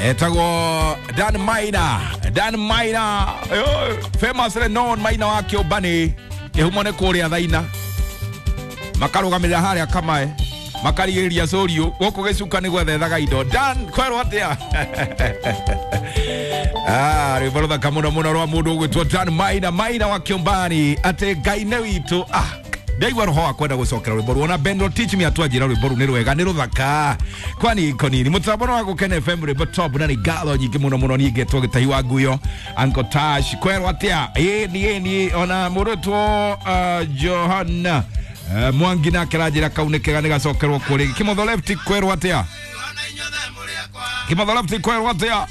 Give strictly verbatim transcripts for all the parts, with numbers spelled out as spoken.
Etagwo Dan Maina, Dan Maina, famously known Maina wa Kĩũmbani, kĩhumo nĩ kũrĩa Thaina. Makarũgamĩrĩra harĩa Kamae, makarigĩrĩria Cũriũ, gũkũ gĩcuka nĩ gwethethaga indo. Dan, kwerwo atĩa? Ah, rwĩmbo rũthaka mũno mũno rwa mũndũ ũgwĩtwo Dan Maina, Maina wa Kĩũmbani, atĩ Ngai nĩ witũ. Ah, ndaigua roho wa kwenda gũcokera rwĩmbo ruo na Ben Teach me atwanjĩra rwĩmbo rũu nĩ rwega nĩ rũthaka kwani konini mũtambo wa Gũkena F M rwĩmbo top na nĩ ngatho nyingĩ mũno mũno niĩ ngetwo Gĩtahi wa Nguyo Uncle Tash kwerwo atĩa ĩ niĩ niĩ ona mũrũtwo uh, Johanna uh, Mwangi nake aranjĩra kau nĩ kega nĩ gacokerwo kũ rĩngĩ. Kĩmotho Left kwerwo atĩa? Kĩmotho Left kwerwo atĩa?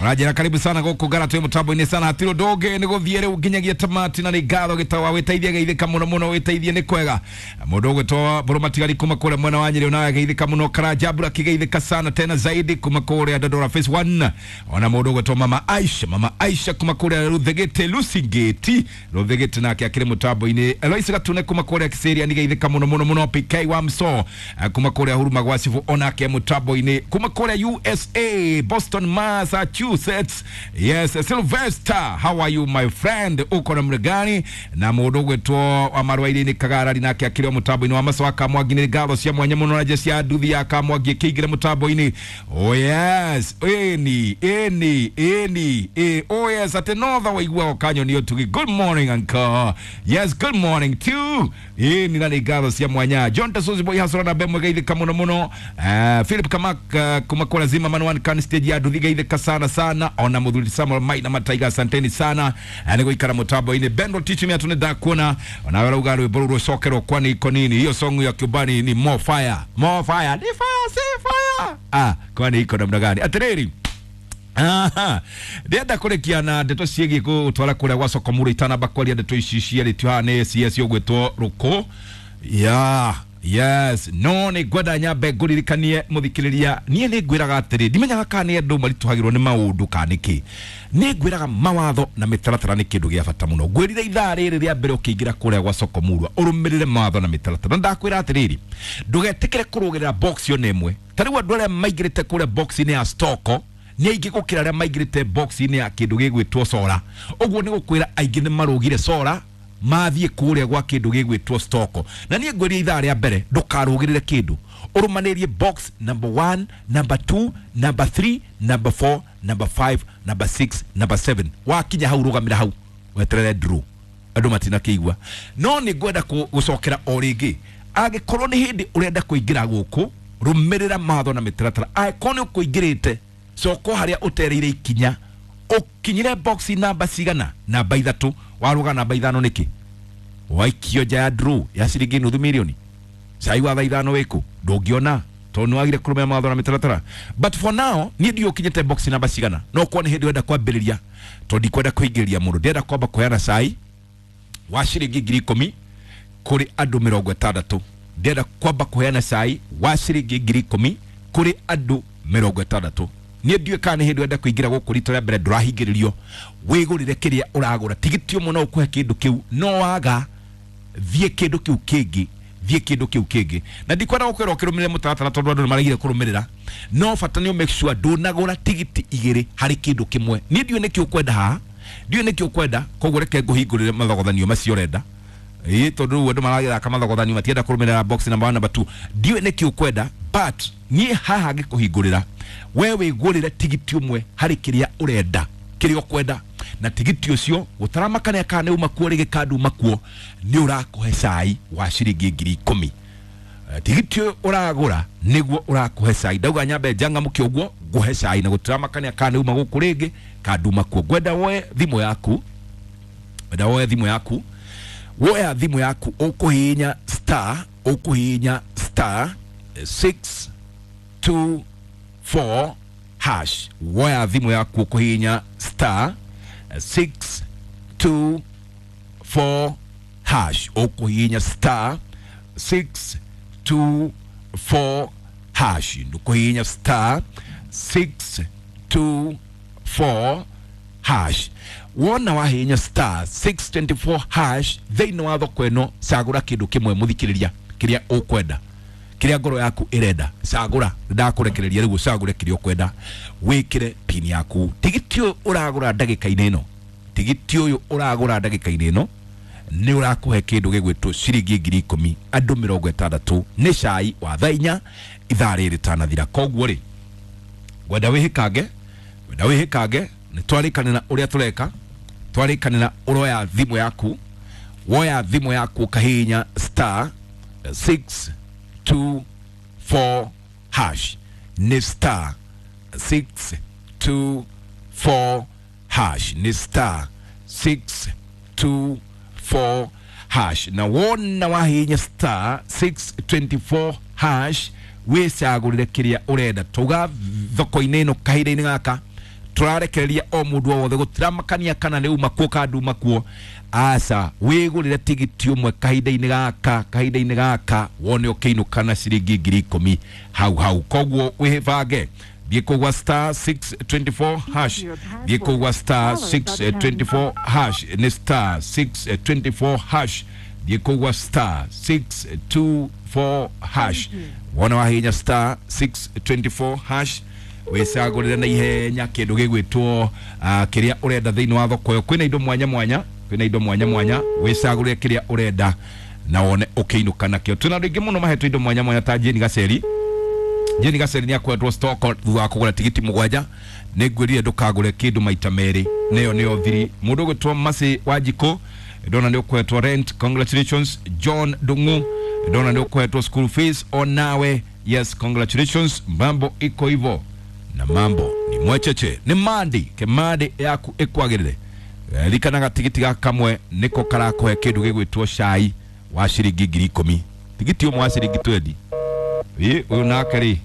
Ũranjĩra karibu sana gũkũ ngara twĩ mũtambo-inĩ sana hatirĩ ũndũ ũngĩ nĩ gũthiĩ rĩu nginyagia tamati na nĩ ngatho gĩtawa wĩteithie geithĩka mũno mũno wĩteithie nĩ kwega mũndũ ũgwĩtwo Mbũrũ Matigari kuma kũrĩa mwena wa Nyĩrĩ onawe geithĩka mũno Karanja Mbura kĩgeithĩka sana tena zaidi kuma kũrĩa Dandora Phase one ona mũndũ ũgwĩtwo Mama Aisha Mama Aisha kuma kũrĩa Ruthigĩte Lucingĩti Ruthigĩte nake akĩrĩ mũtambo-inĩ Eloise Gatune kuma kũrĩa Kiserian geithĩka mũno mũno mũno P K wa Mso kuma kũrĩa Huruma gwa Cibu onake mũtambo-inĩ kuma kũrĩa U S A Boston Massachusetts. Yes, Sylvester, how are you my friend? Uko namna gani? Na mũndũ ũgwĩtwo wa Marwairi-inĩ Kagarari nake akĩrĩ o mũtambo-inĩ wa Maso wa Kamwangi nĩ ngatho cia mwanya mũno na jeshi ya nduthi ya Kamwangi ĩkĩingĩra mũtambo-inĩ. Oh yes, ĩni ĩni ĩni ĩ oh yes, atĩ notha waiguaga ũkanyoni ũtugi. Good morning uncle. Yes, good morning too. Ĩni na nĩ ngatho cia mwanya. John Tasozi boy hasora na Bemwe geithĩka mũno mũno. Uh, Philip Kamak uh, kuma kũrĩa Zima Manuan kan stage ya nduthi geithĩka sana sana ona muthuri Samuel Maina Mataiga asanteni sana nĩ gũikara mũtambo-inĩ. Bendo Teach me atune ndakuona ona we rauga rwĩmbo rũu rũcokerwo kwani iko nini hiyo song ya Kĩũmbani ni more fire more fire ni fire si fire ah kwani iko namna gani atiriri. Aha, ndĩrenda kũrĩkia na ndeto ciĩgiĩ gũtwara kũrĩa gwa Sokomuro itanamba kwaria ndeto ici ciarĩtio haha nĩ C S ũgwĩtwo Rũkũ ya yes no nĩ ngwenda nyambe ngũririkanie mũthikĩrĩria niĩ nĩ ngwĩraga atĩrĩ ndimenyaga kana nĩ andũ maritũhagĩrwo nĩ maũndũ kana nĩkĩ nĩ ngwĩraga mawatho na mĩtaratara nĩ kĩndũ gĩa bata mũno ngwĩrire ithaa rĩrĩ rĩa mbere ũkĩingĩra kũrĩa gwa Sokomurwa ũrũmĩrĩre mawatho na mĩtaratara na ndakwĩra atĩrĩrĩ ndũgetĩkĩre kũrũgĩrĩra box ona ĩmwe ta rĩu andũ arĩa maingĩrĩte kũrĩa box-inĩ ya Stoko nĩ aingĩ gũkĩra arĩa maingĩrĩte box-inĩ ya kĩndũ gĩgwĩtwo Sora ũguo nĩ gũkwĩra aingĩ nĩ marũgire Sora mathiĩ kũrĩa gwa kĩndũ gĩgwĩtwo Stoko na niĩ ngwĩria ithaa rĩa mbere ndũkarũgĩrĩre kĩndũ ũrũmanĩrie box number one number two number three number four number five number six number seven wakinya hau rũgamĩra hau weterere draw andũ matinakĩigua no nĩ ngwenda gũcokera o rĩngĩ angĩkorwo nĩ hĩndĩ ũrenda kũingĩra gũkũ rũmĩrĩra mawatho na mĩtaratara angĩkorwo nĩ ũkũingĩrĩte coko harĩa ũtereire ikinya ũkinyire box namba cigana namba ithatũ waruga namba ithano nĩkĩ waikio nja ya draw ya ciringi nuthu milioni cai wa thaa ithano wĩkũ ndũngĩona tondũ nĩwagire kũrũmĩrĩra mawatho na mĩtaratara but for now niĩ ndiũĩ ũkinyĩte box namba cigana no korwo nĩ hĩndĩ ũrenda kwambĩrĩria tondũ ndikwenda kũingĩria mũndũ ndĩrenda kwamba kũheana cai wa ciringi ngiri ikũmi kũrĩ andũ mĩrongo ĩtandatũ ndĩrenda kwamba kũheana cai wa ciringi ngiri ikũmi kũrĩ andũ mĩrongo ĩtandatũ niĩ ndiũĩ kana nĩ hĩndĩ ũrenda kũingĩra gũkũ rita rĩa mbere ndũrahingĩrĩrio wĩgũrĩre kĩrĩa ũragũra tigiti ũmwe no ũkũhe kĩndũ kĩu no waga thiĩ kĩndũ kĩu kĩngĩ thiĩ kĩndũ kĩu kĩngĩ na ndikwenda gũkwĩra ũkĩrũmĩrĩre mũtaratara tondũ andũ nĩmaregire kũrũmĩrĩra no bata nĩ make sure ndũnagũra tigiti igĩrĩ harĩ kĩndũ kĩmwe niĩ ndiũĩ nĩkĩ ũkwenda haha ndiũĩ nĩkĩ ũkwenda koguo reke ngũhingũrĩre mathogothanio macio ũrenda ĩĩ tondũ rĩu andũ maragĩthaka mathogothanio matienda kũrũmĩrĩra box number one number two ndiũĩ nĩkĩ ũkwenda but niĩ haha ngĩkũhingũrĩra we wĩgũrĩre tigiti ũmwe harĩ kĩrĩa ũrenda kĩrĩa ũkwenda na tigiti ũcio gũtaramakania kana nĩ uma kuo rĩngĩ kana nduma kuo nĩ ũrakũhe cai wa ciringi ngiri ikũmi tigiti ũyũ ũragũra nĩguo ũrakũhe cai ndauga nyambe njangamũke ũguo ngũhe cai na gũtaramakania kana nĩ uma gũkũ rĩngĩ kana nduma kuo ngwenda woe thimũ yaku ngwenda woe thimũ yaku woya thimũ yaku ũkũhihinya star ũkũhihinya star six two four hash woya thimũ yaku ũkũhihinya star six two four hash ũkũhihinya star six two four hash ndũkũhihinya star six two four hash wona wahihinya star six twenty four hash thĩinĩ wa thoko ĩno cagũra kĩndũ kĩmwe mũthikĩrĩria kĩrĩa ũkwenda Kiria ngoro yaku irenda cagura, ndakurekereria riu ucagure kiria ukwenda, wikire pin yaku. Tigiti uyu uragura ndagika-inĩ ĩno, tigiti uyu uragura ndagika-inĩ ĩno nĩ ũrakũhe kĩndũ gĩgwĩtwo ciringi ngiri ikũmi andũ mĩrongo ĩtandatũ nĩ cai wa thaa inya ithaa rĩrĩ rĩtanathira. Koguo rĩ, ngwenda wĩhĩkange, ngwenda wĩhĩkange, nĩ twarĩkanĩra ũrĩa tũreka, twarĩkanĩra ũroya thimũ yaku, woya thimũ yaku ũkahihinya star six two four hash, nĩ star six two four hash, nĩ star six two four hash. Na wona wahihinya star six twenty four hash wĩcagũrĩre kĩrĩa ũrenda. Tuga thoko-inĩ ĩno kahinda-inĩ gaka tũrarekereria o mũndũ o wothe, gũtiramakania kana nĩ uma kuo kana nduma kuo, aca wĩgũrĩre tigiti ũmwe kahinda-inĩ gaka, kahinda-inĩ gaka wone ũkĩinũka na ciringi ngiri ikũmi hau hau. Koguo wĩbange, thiĩ kũu gwa star six twenty four hash, thiĩ kũu gwa star six twenty four hash, nĩ star six twenty four hash, thiĩ kũu gwa star six two four hash. Wona wahihinya star six twenty four hash wĩcagũrĩre na ihenya kĩndũ gĩgwĩtwo kĩrĩa ũrenda thĩinĩ wa thoko ĩyo. Kwĩna indo mwanya mwanya, kwĩna indo mwanya mwanya, wĩcagũrĩre kĩrĩa ũrenda na wone ũkĩinũka nakĩo. Twĩna andũ aingĩ mũno mahetwo indo mwanya mwanya ta Jane Gaceri. Jane Gaceri nĩ akoretwo stock thutha wa kũgũra tigiti mũgwanja. Nĩ ngwĩrire ndũkagũre kĩndũ maita merĩ, nĩyo nĩyo thiri. Mũndũ ũgwĩtwo Mercy Wanjikũ ndona nĩ ũkoretwo rent, congratulations. John Ndung'u ndona nĩ ũkoretwo school fees onawe, yes, congratulations. Mambo iko hivyo na mambo ni mwecheche. Nĩ mandi kemandi yaku ĩkwagĩrĩre. Ririkanaga tigiti gaka kamwe nĩko karakũhe kĩndũ gĩgwĩtwo cai wa ciringi ngiri ikũmi, tigiti ũmwe wa ciringi twenty. Ĩ ũyũ nake rĩ,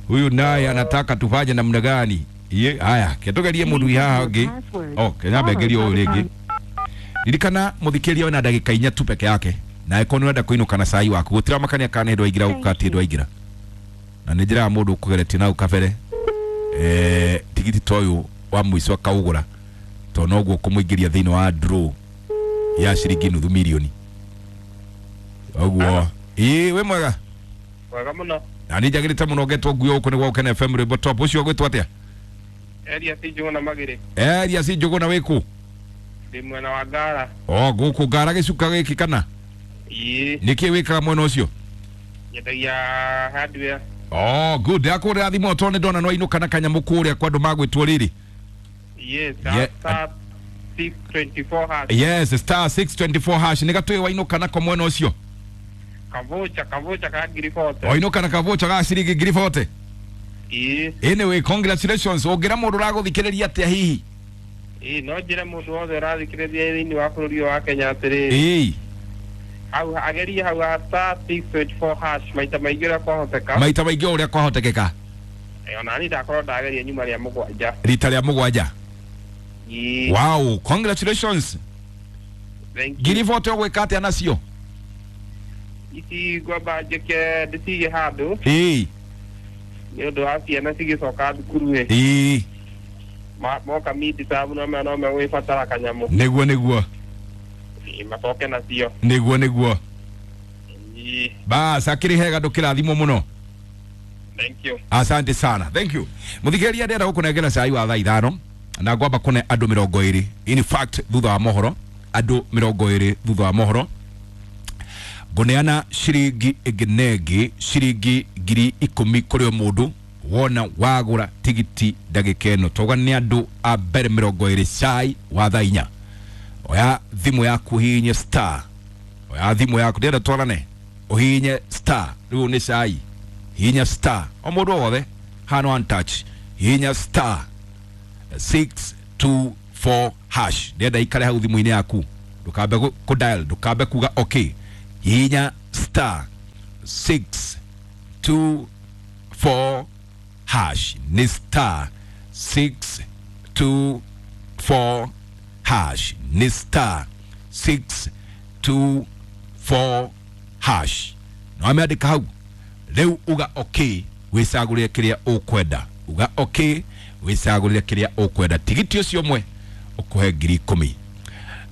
huyu naye anataka tufanye namna gani? Ye haya ketugerie mũndũ haha ũngĩ. Oh, kenyambe ngerie ũyũ rĩngĩ. Ririkana mũthikĩria wĩna ndagĩka inya tu peke yake, na angĩkorwo nĩ ũrenda kũinũka na cai waku gũtiramakania kana nĩ ndwaingĩra gũka ti ndwaingĩra, na nĩ njĩraga mũndũ ũkũgeretie nau kabere eh tigiti ta ũyũ wa mũico akaũgũra, tondũ noguo kũmũingĩria thĩinĩ wa draw ya ciringi nuthu mirioni ũguo. Ĩ wĩ mwega? Mwega mũno. Na nĩ njagĩrĩte mũno ngetwo nguo gũkũ nĩ gwa Gũkena F M rwĩmbo top. Ũcio ũgwĩtwo atĩa? Elias Njũgũna Magĩrĩ. Elias Njũgũna wĩkũ? Ndĩ mwena wa Ngara. O gũkũ Ngara gĩcuka gĩkĩ kana? Ĩĩ. Nĩkĩ wĩkaga mwena ũcio? Nyendagia hardware. Oh, good. Ndakũrĩra thimũ tondũ nĩ ndona nĩ wainũka na kanyamũ kũrĩa kwa andũ magwĩtwo rĩrĩ. Yes, star six twenty four hash. Yes, star six twenty four hash. Nĩ gatũĩ wainũka nako mwena ũcio? Kavocha, kavocha ka ngiri forty. Wainũka na kavocha ga ciringi ngiri forty? Ĩĩ. Anyway, congratulations. Ũngĩra mũndũ ũragũthikĩrĩria atĩa hihi? Ĩĩ, no njĩre mũndũ wothe ũrathikĩrĩria thĩinĩ wa bũrũri ũyũ wa Kenya atĩrĩrĩ. Ĩĩ. Hau agerie hau ha star six twenty four hash maita maingĩ ũrĩa kwahoteka. Maita maingĩ ũrĩa kwahotekeka. Ĩĩ, ona niĩ ndakorwo ndageria nyuma rĩa mũgwanja. Rita rĩa mũgwanja. Ĩĩ. Wow, congratulations. Thank you. Ngiri forty ũgwĩka atĩa nacio? Ici ngwamba njĩke ndĩcige handũ. Ĩĩ. Nĩ ũndũ wa ciana cigĩcoka thukuru ĩ. Ĩĩ. Moka mid term no me no megwĩbatara kanyamũ. Nĩguo nĩguo. Ĩĩ, macoke nacio. Nĩguo nĩguo. Ĩĩ. Bas, akĩrĩ hega ndũkĩrathimwo mũno. Thank you. Asante sana. Thank you. Mũthikĩrĩria ndĩrenda gũkũnengera cai wa thaa ithano na ngwamba kũne andũ mĩrongo ĩrĩ. In fact, thutha wa mohoro, andũ mĩrongo ĩrĩ thutha wa mohoro ngũneana ciringi ĩngĩ na ĩngĩ ciringi ngiri ikũmi kũrĩ o mũndũ wona wagũra tigiti ndagĩka ĩno. Tauga nĩ andũ a mbere mĩrongo ĩrĩ cai wa thaa inya. Oya thimũ yaku ũhihinye star, oya thimũ yaku ndĩrenda twarane, ũhihinye star, rĩu nĩ cai, hihinya star o mũndũ o wothe hano one touch, hihinya star six two four hash. Ndĩrenda ikare hau thimũ-inĩ yaku, ndũkambe kũ dial, ndũkambe kuga okay. Hihinya star six two four hash, nĩ star six two four hash, nĩ star six two four hash. No ameandĩka hau rĩu uga okay, wĩcagũrĩre kĩrĩa ũkwenda. Uga okay, wĩcagũrĩre kĩrĩa ũkwenda. Tigiti ũcio ũmwe ũkũhe ngiri ikũmi.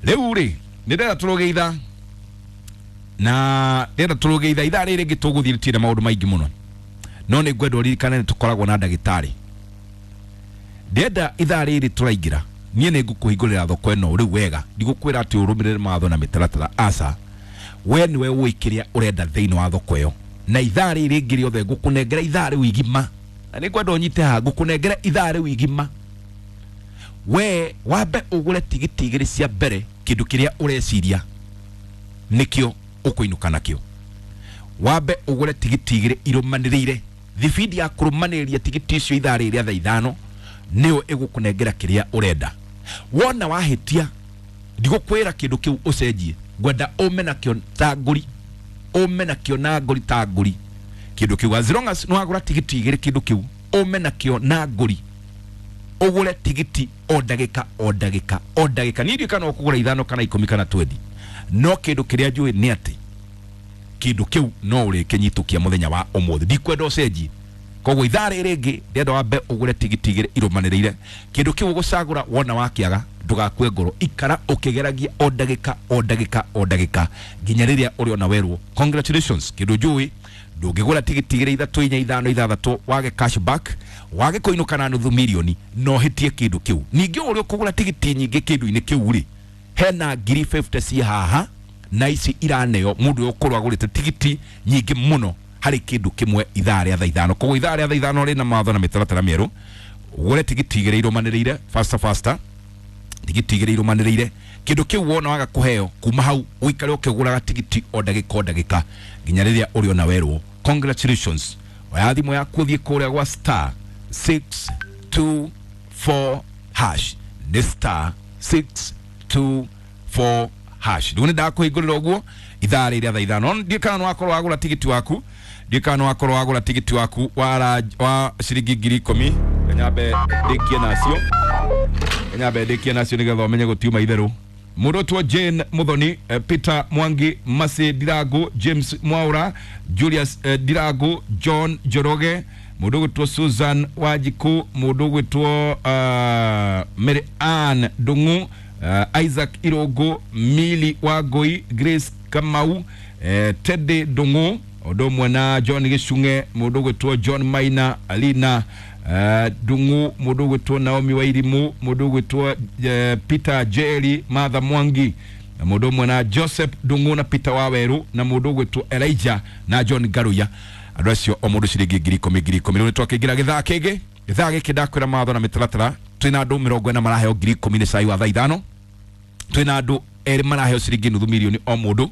Rĩu rĩ, nĩ ndĩrenda tũrũge ithaa Na ndĩrenda tũrũge ithaa ithaa rĩrĩ rĩngĩ tũgũthiĩ tũtirĩ na maũndũ maingĩ mũno, no nĩ ngwenda ũririkane nĩ tũkoragwo na ndagĩtarĩ. Ndĩrenda ithaa rĩrĩ tũraingĩra, niĩ nĩ ngũkũhingũrĩra thoko ĩno rĩu wega, ndigũkwĩra atĩ ũrũmĩrĩre mawatho na mĩtaratara, aca, we nĩwe ũĩ kĩrĩa ũrenda thĩinĩ wa thoko ĩyo. Na ithaa rĩrĩ rĩngĩ rĩothe ngũkũnengera ithaa rĩu igima, na nĩ ngwenda ũnyite haha, ngũkũnengera ithaa rĩu igima, we wambe ũgũre tigiti igĩrĩ cia mbere, kĩndũ kĩrĩa ũreciria nĩkĩo ũkũinũka nakĩo. Wambe ũgũre tigiti igĩrĩ irũmanĩrĩire, thibindi ya kũrũmanĩrĩria tigiti icio ithaa rĩrĩ rĩa thaa ithano nĩyo ĩgũkũnengera kĩrĩa ũrenda. Wona wahĩtia, ndigũkwĩra kĩndũ kĩu ũcenjie, ngwenda ũme nakĩo ta ngũri, ũme nakĩo na ngũri ta ngũri kĩndũ kĩu. As long as nĩwagũra tigiti igĩrĩ kĩndũ kĩu, ũme nakĩo na ngũri, ũgũre tigiti o ndagĩka o ndagĩka o ndagĩka. Niĩ ndiũĩ kana ũkũgũra ithano kana ikũmi kana twendi, no kĩndũ kĩrĩa njũĩ nĩ atĩ kĩndũ kĩu no ũrĩkĩnyitũkia mũthenya wa ũmũthĩ, ndikwenda ũcenjie. Koguo ithaa rĩrĩ rĩngĩ ndĩrenda wambe ũgũre tigiti igĩrĩ irũmanĩrĩire, kĩndũ kĩu ũgũcagũra, wona wakĩaga ndũgakue ngoro, ikara ũkĩgeragia o ndagĩka o ndagĩka o ndagĩka nginya rĩrĩa ũrĩona werwo congratulations. Kĩndũ njũĩ, ndũngĩgũra tigiti igĩrĩ ithatũ inya ithano ithathatũ wage cashback, wage kũinũka na nuthu mirioni, no hĩtie kĩndũ kĩu. Ningĩ ũrĩa ũkũgũra tigiti nyingĩ kĩndũ-inĩ kĩu rĩ, hena ngiri fifty ci haha na ici iraneo mũndũ ũyũ ũkorwo agũrĩte tigiti nyingĩ mũno harĩ kĩndũ kĩmwe ithaa rĩa thaa ithano. Koguo ithaa rĩa thaa ithano rĩna mawatho na mĩtaratara mĩerũ, ũgũre tigiti igĩrĩ irũmanĩrĩire, faster faster, tigiti igĩrĩ irũmanĩrĩire, kĩndũ kĩu wona waga kũheo, kuma hau ũikare ũkĩgũraga tigiti o ndagĩka o ndagĩka nginya rĩrĩa ũrĩona werwo congratulations. Oya thimũ yaku ũthiĩ kũrĩa gwa star six two four hash, nĩ star six two four hash. Rĩu nĩ ndakũhingũrĩra ũguo ithaa rĩrĩ rĩa thaa ithano. Ndiũĩ kana nĩ wakorwo wagũra tigiti waku, ndiũĩ kana nĩ wakorwo wagũra tigiti waku wa, wa ciringi ngiri ikũmi. Nyambe ndĩkie nacio, nyambe ndĩkie nacio nĩgetha ũmenye gũtiuma itherũ. Mũndũ ũtwo Jane Muthoni, eh, Peter Mwangi, Masi Ndirangu, James Mwaura, Julius eh, Ndirangu, John Njoroge, mũndũ ũgwĩtwo Susan Wanjiku, mũndũ ũgwĩtwo uh, Mary Ann Ndung'u, uh, Isaac Irũngũ, Mili Wangũi, Grace Kamau, eh, Teddy Ndung'u, ũndũ ũmwe na John Gĩcung'e, mũndũ ũgwĩtwo John Maina, Alina Ndung'u, mũndũ ũgwĩtwo Naomi Wairimu, mũndũ ũgwĩtwo uh, Peter Jerry, Martha Mwangi, na mũndũ ũmwe na Joseph Ndung'u na Peter Waweru, na mũndũ ũgwĩtwo Elijah na John Ngaruya. Andũ acio o mũndũ ciringi ngiri ikũmi ngiri ikũmi. Rĩu nĩ twakĩingĩra gĩthaa kĩngĩ, gĩthaa gĩkĩ ndakwĩra mawatho na mĩtaratara. Twĩna andũ mĩrongo ĩna maraheo ngiri ikũmi nĩ cai wa thaa ithano, twĩna andũ erĩ maraheo ciringi nuthu mirioni o mũndũ,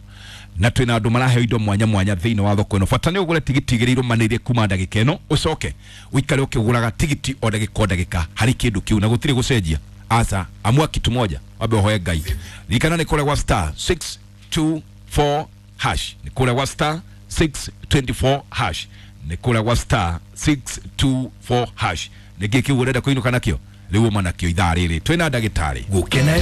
na twĩna andũ maraheo indo mwanya mwanya thĩinĩ wa thoko ĩno. Bata nĩ ũgũre tigiti igĩrĩ irũmanĩrĩire kuma ndagĩka ĩno, ũcoke ũikare ũkĩgũraga tigiti o ndagĩka o ndagĩka harĩ kĩndũ kĩu, na gũtirĩ gũcenjia, aca, amua kitu moja, wambe ũhoe Ngai. Ririkana nĩ kũrĩa gwa star six two four hash, nĩ kũrĩa gwa star six twenty four hash, nĩ kũrĩa gwa star six two four hash. Nĩ kĩĩ kĩu ũrenda kũinũka nakĩo? Rĩu uma nakĩo ithaa rĩrĩ twĩna ndagĩtarĩ. Gũkena.